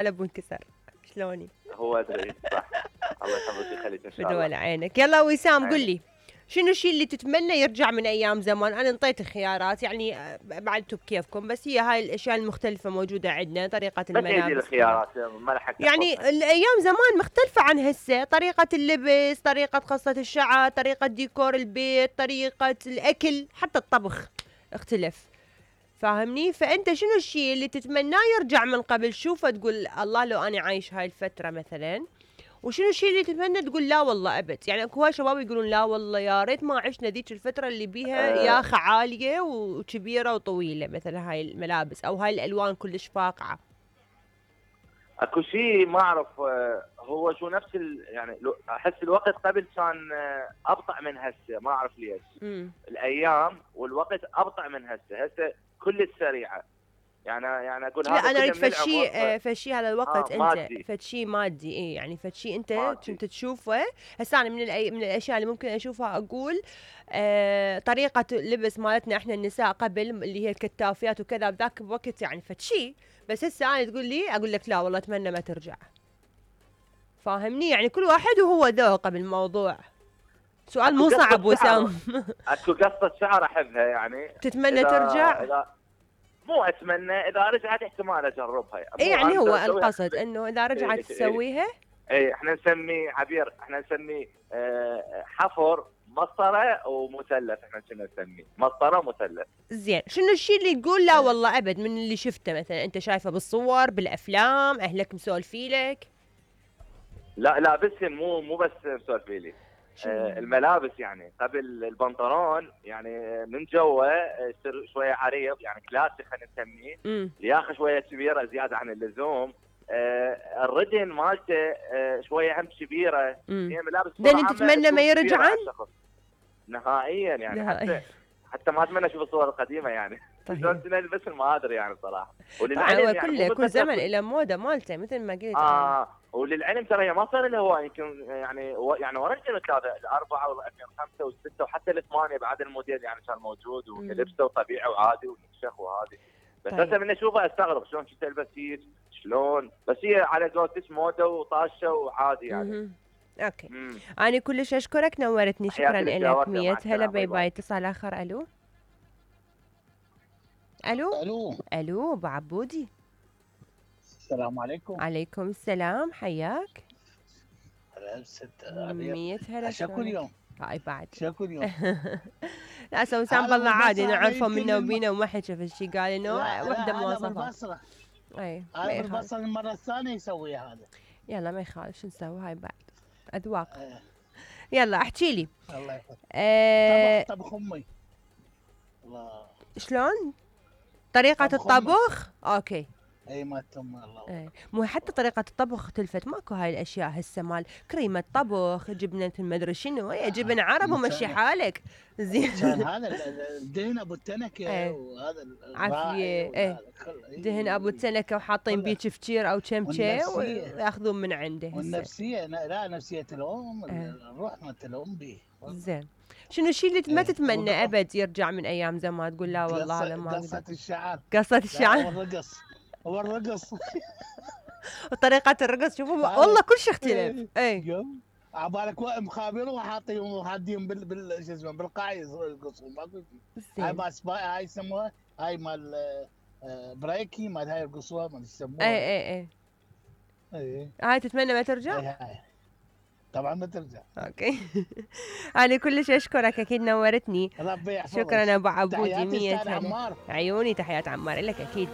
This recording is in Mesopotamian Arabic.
قلب وانكسر. شلوني؟ هو ادري صح. الله يحفظك ويخليك ان شاء الله. بدول عينك. يلا وسام قل لي شنو الشيء اللي تتمنى يرجع من ايام زمان؟ انا انطيت خيارات يعني بعدتوا بكيفكم، بس هي هاي الاشياء المختلفه موجوده عندنا. طريقه الملابس، الخيارات ما لحقت يعني الايام زمان مختلفه عن هسه، طريقه اللبس، طريقه قصه الشعر، طريقه ديكور البيت، طريقه الاكل، حتى الطبخ اختلف. فاهمني؟ فانت شنو الشيء اللي تتمناه يرجع من قبل؟ شوفه تقول الله لو انا عايش هاي الفتره مثلا. وشنو الشيء اللي تتمنى تقول لا والله ابد؟ يعني اكو هواي شباب يقولون لا والله يا ريت ما عشنا ذيك الفتره اللي بيها ياخه عاليه وكبيره وطويله، مثلا هاي الملابس او هاي الالوان كلش فاقعه. اكو شيء ما اعرف هو شو نفس يعني احس الوقت قبل كان ابطا من هسه، ما اعرف ليش. الايام والوقت ابطا من هسه كلش سريعه. يعني اقول لا انا اريد فشي هذا الوقت انت مادي. فشي مادي. ايه يعني فشي انت كنت تشوفه. هسه انا من الاشياء اللي ممكن اشوفها اقول طريقه اللبس مالتنا احنا النساء قبل اللي هي الكتافيات وكذا بذاك الوقت يعني فشي. بس هسه انا تقول لي اقول لك لا والله اتمنى ما ترجع. فاهمني؟ يعني كل واحد وهو ذوقه بالموضوع. سؤال مو صعب وسام. اكو قصه شعر احبها يعني تتمنى ترجع؟ مو اتمنى، اذا رجعت احتمال اجربها. يعني هو القصد انه اذا رجعت تسويها. اي احنا نسميه عبير، احنا نسميه حفر مسطره ومثلث. احنا كنا نسميه مسطره ومثلث. زين، شنو الشيء اللي تقول لا والله ابد من اللي شفته مثلا انت شايفه بالصور بالافلام اهلك مسولفيلك؟ لا بس مو بس مسولفيلي. الملابس يعني قبل البنطلون يعني من جوا يصير شويه عريض، يعني كلاسيك خلينا نسميه، لياخه شويه كبيره زياده عن اللزوم. الرجل مالته شويه هم كبيره. هي ملابس انت تتمنى ما يرجعن نهائيا يعني. حتى ما اتمنى اشوف الصور القديمه يعني. طيب. بس ما ادري يعني صراحه. طبعا يعني كل زمن له موده مالته مثل ما قلت. وللعلم ترى هي ما صار لها هو يمكن يعني ورا الثلاثه الاربعه وال2005 والسته وحتى الثمانيه بعد الموديل يعني كان موجود ولبسه وطبيعي وعادي ونشخ وهذه. بس هسه من اشوفها استغرب شلون تلبس هيك شلون، بس هي على قولتك موده وطاشه وعادي يعني. اوكي. انا كلش اشكرك، نورتني، شكرا لك. 100 هلا. باي باي. اتصال اخر. الو ابو عبودي. السلام عليكم. عليكم السلام، حياك. هلا ست 100 هلا. شكو اليوم؟ هاي بعد شكو اليوم؟ لا سوسام بالله عادي نعرفه منا وبينا وما حكى في الشيء، قال انه وحده مواصفات. بالبصره. اي بالبصره المره الثانيه يسوي هذا. يلا ما يخالف، شو نسوي؟ هاي بعد اذواق. يلا احكي لي. الله يحفظك. طبخ امي. الله. شلون طريقه الطبخ؟ اوكي. اي ما تم الله. مو حتى طريقه الطبخ اختلفت، ماكو هاي الاشياء هسه مال كريمه طبخ، جبنه المدري شنو، جبن عرب ومشي حالك. زين. كان هذا الدهن ابو التنكه وهذا عافيه. دهن ابو التنكه وحاطين بيه كفشير او كمشه وياخذون من عنده. والنفسيه لا نفسيه الام الروح مالت الام به. زين، شنو الشيء اللي ما تتمنى ابد يرجع من ايام زمان؟ تقول لا والله هذا ما قصه الشعر. قصه الشعر. هو الرقص. وطريقة الرقص شوفوا والله كل شيء اختلف. اي عبالك مخابرين وحاطين حادين شو اسمه بالقاع يرقصون ماكو شيء. هاي مال هاي يسموها هاي مال بريكي مال هاي يرقصوها ما يسموها. اي هاي تتمنى ما ترجع؟ هاي طبعا ما ترجع. اوكي. انا كلش اشكرك، اكيد نورتني. ربي يحفظك. شكرا ابو عبودي. 100 هلا. عيوني، تحيات عمار لك اكيد.